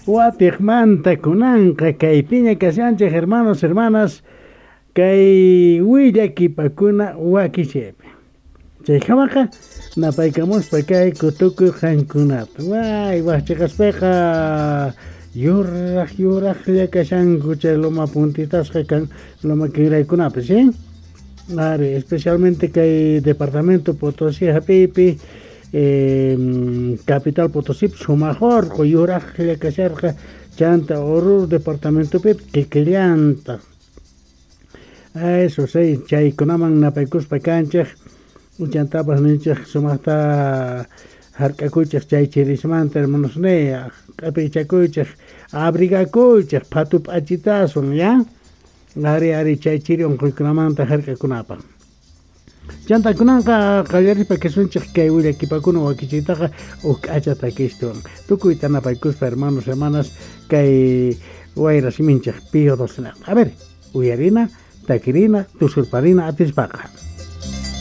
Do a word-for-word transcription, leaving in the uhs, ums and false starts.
Watiqmanta kunanqa kaypiña kashanchej, hermanos, hermanas, kay willakipakuna wakichaypi. Chaykamaqa napaykamuspa kayku tukuy qankunata. Way, wajchiqaspiqa yuraq yuraqlla kashanku chay loma puntitasqa kan loma kinraykunapis, ¿eh? Ari, especialmente kay departamento Potosí hap'iypi, eh, capital Potosí sumaq orqo yuraqlla kasharqa, chanta Oruro departamentopi kikillantaq. Eso sí, chaykunaman napaykuspa kanchej, chantapas ninchej sumaqta hark'akuychej chay chirismanta, hermanos niya, q'apichakuychej, abrigakuychej phatu p'achitaswan, ya. Ari, ari, chay chiri unquykunamanta hark'akunapaq. Chanta kunanqa qallarispa kasunchej kay willakipakuna wakichiytaqa uj k'acha takistuwan. Tukuyta napaykuspa, hermanos, hermanas, kay wayra siminchej Pío doce. A ver, uyarina, takirina, tusurparina atispaqa.